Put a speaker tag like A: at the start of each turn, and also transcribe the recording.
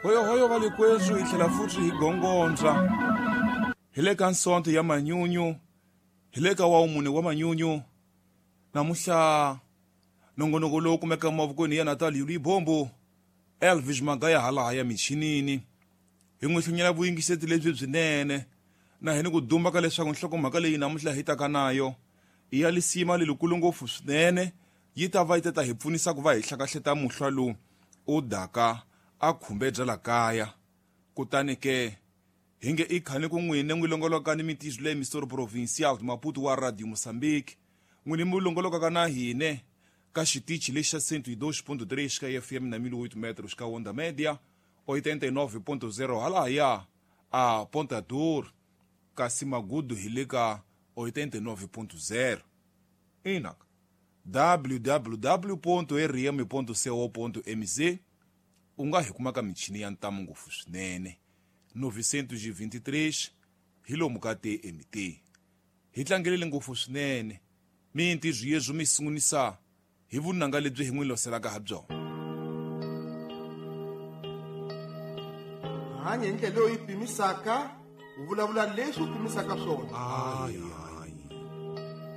A: Hoyohoyo va le kweswi hi tlhela futhi hi gongondza hi le ka nsonto ya manyunyu, hi le ka wawumune wa manyunyu. Namuhla nongonoko lowu kumeka emavokweni ya Natal Libombo, Elvis Magaya halaha ya michinini. Hi n'wi hlunyela vuyingiseti lebyi byinene na hi ni ku dumba ka leswaku nhlokomhaka leyi namuntlha hi taka nayo i ya lisima lelikulu ngopfu swinene, yi ta va yi ta ta hi pfunisa ku va hi hlakahleta muhlwa lowu u daka a khumbe bya la kaya. Kutani ke hi nge i khani ku n'wine n'wi longoloka ni mitizo leyi Misoro Provincial de Maputo wa Radio Mozambique, n'wine mi longolokaka na hine ka xitichi lexi xa 102.3 ka FM na 1008 metros ka Onda Media 89.0 halahaya a Ponta Dor, kasi Magudu hi le ka 89.0. Ina www.rm.co.mz u nga hi kuma ka michini ya ntamu ngopfu swinene 923 hi lomu ka TMT. Hi tlangelele ngopfu swinene mintirho yezwo mi sungulisa hi vunanga lebyi hi n'wi loselaka ha byona.
B: Hanya hi ndlela leyi u yi pimisaka, u vulavula leswi u pimisaka swona.